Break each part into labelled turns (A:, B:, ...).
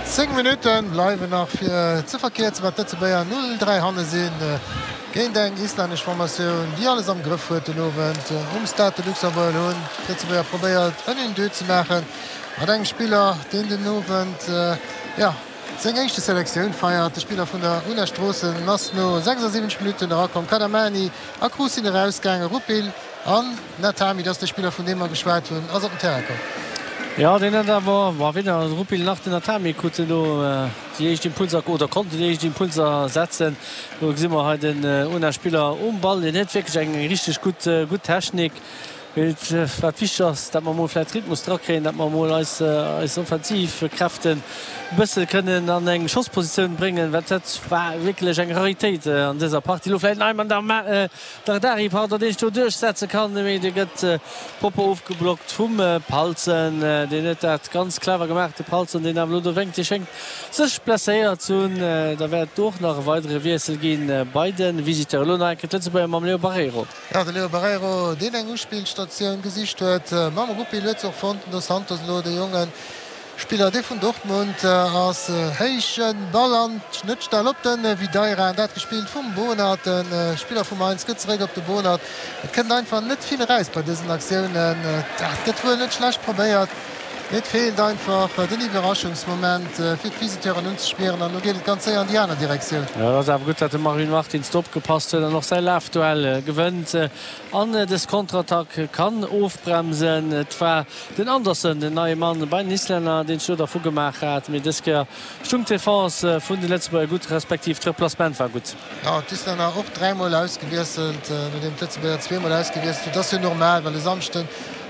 A: 10 Minutte bleiwen nach fir ze verkierzen, wat d'Lëtzebuerger 0, 3 hanne sinn géint eng islännesch Formatioun, déi alles am Grëff huet den Owend um Stade de Luxembourg. Hunn d'Lëtzebuerger probéiert en Une-deux ze maache mat engem Spiller, deen den Owend, jo, seng éischte Selektioun feiert. De Spiller vun der Una Stroossen ass no 76 Minutten erakomm. Kadamani a Cruz sinn erausgaangen, Rupil an Natami, dat ass de Spiller vun deem mer geschwat hunn, ass op den Terrain komm.
B: Jo, deen huet awer, bon, weder de Rupil nach den Natami kruten do déi éischt Impulser oder konnten déi éischt Impulser setzen. Do gesi mer hei den Una-Spiller um Ball, deen huet wierklech eng richteg gutt, gutt Technik. Mee wat wichteg ass, dat mer emol vläicht Rhythmus drakréien, dat mer emol eis, eis offensiv Kräften e bësse kënnen an eng Schosspositioun bréngen, well dat war wierklech eng Raritéit an dëser Partie. Elo vläicht den Ayman Dardari, pardon, deen sech do duerchsetze kann, mee dee gëtt propper ofgeblockt vum Palzen. Deen huet dat ganz clever gemaach, de Palzen, deen awer elo do wénkt. Dee schéngt sech blesséiert ze hunn. Da wäert et och nach e weidere Wiessel gi bei de Visiteuren. Elo nach eng Kéier d'Lëtzebuerger mam Leo Barreiro.
A: Jo, de Leo Barreiro, deen eng Uspillstatioun gesicht huet mam Rupil, huet se och fonnt. Den Dos Santos elo, de jonge Spiller, dee vun Dortmund ass. Héije Ball an d'Schnëttstell op de Videira, an dat gespillt vum Bohnert. De Spiller vu Mainz gëtt zeréck op de Bohnert. Et kënnt einfach net vill eraus bei dësen Aktiounen. Dat gëtt wuel net schlecht probéiert, mee et feelt einfach den Iwwerraschungsmoment, fir d'Visiteuren unzespieren. An elo geet et ganz séier an déi aner Direktioun.
B: Et ass awer gutt, datt de Marvin Martins do opgepasst huet an och säi Lafduell gewënnt an dës Konterattack kann ofbremsen. Et war Den Andersen, den neie Mann bei den Islänner, deen sech do dervu gemaach hat, mee dës Kéier stung d'Defense vun de Lëtzebuerger gutt, respektiv d'Replacement war gutt.
A: Jo, d'Islänner och dräimol ausgewiesselt, nodeem d'Lëtzebuerger zweemol ausgewiesselt hunn. Dat ass jo normal, well e Samschden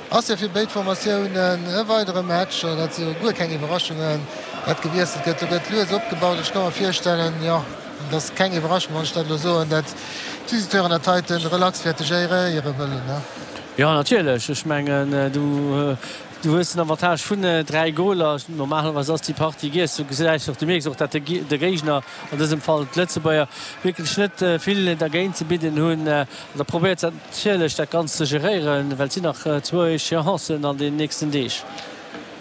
A: ass jo fir béid Formatiounen e weidere Match. Dat si jo guer keng Iwwerraschungen, dat gewiesselt gëtt. Do gëtt lues opgebaut. Ech ka mer virstellen, jo, et ass keng Iwwerraschung, wann ech dat elo soen, dat d'Visiteuren dat heite relax wäerte géréiere wëllen.
B: Jo, natierlech. Ech mengen, du hues den Avantage vun 3 Goler. Normalerweis ass déi Partie giess. Du gesäis och, du mierks och, datt de Géigner, an dësem Fall d'Lëtzebuerger, wierklech net vill dergéint ze bidden hunn. An da probéiert se natierlech, dat Ganzt ze geréieren, well et sinn nach zwou Echeancen an den nächsten Deeg.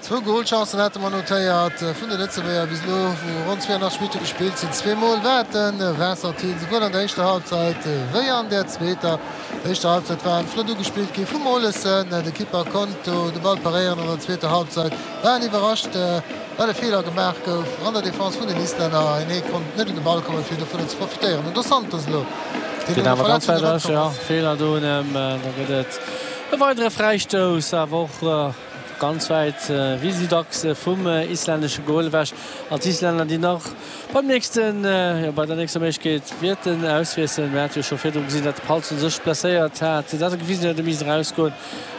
A: Zwou Golchancen hate mer notéiert vun de Lëtzebuerger bis elo, wou ronn 82 Minutte gespillt sinn. Zweemol war et de Vincent Thill, souwuel an der éischter Halbzeit wéi an der zweeter. D'éischter Halbzeit war en flott ugespillt gi vum Olesen. De Kipper konnt do de Ball paréieren. An der zweeter Halbzeit war en iwwerrascht, well e Feeler gemaach gouf an der Defense vun den Islänner. En hee konnt net un de Ball kommen, fir dovunner ze profitéieren. Den Dos Santos elo,
B: deen no der Verletzung erëmkomm ass. Feeler do un em. Da gëtt et e weidere Fräistouss, awer och. Ganz wäit, wéi esou dacks, vum islännesche Gol ewech. An d'Islänner, déi nach beim nächsten, jo, bei der nächster Méiglechkeet wäerten auswiesselen. Mir hate jo scho virdru gesinn, datt de Palsson sech blesséiert hat, dat e gewisen huet, e misst erausgoen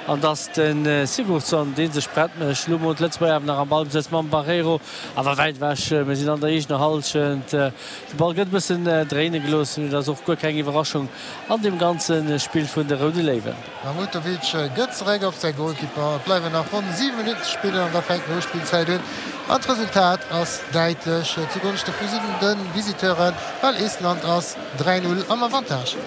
B: an datt de Sigurdsson, dee sech prett mécht. Elo mol d'Lëtzebuerger awer nach am Ballbesëtz mam Barreiro, awer wäit ewech. Mir sinn an der eegener Hallschent. De Ball gëtt e bëssen dréine gelooss, mee dat ass och guer keng Iwwerraschung an deem ganze Spill vun de Roude Léiwen.
A: Mahmutovic gëtt zeréck op säi Golkipper. Et bleiwen nach ronn 7 Minutten ze spillen an da fänkt d'Nospillzäit un. An d'Resultat ass däitlech zu Gonschte vu de Visiteuren, well Estland ass 3, 0 am Avantage.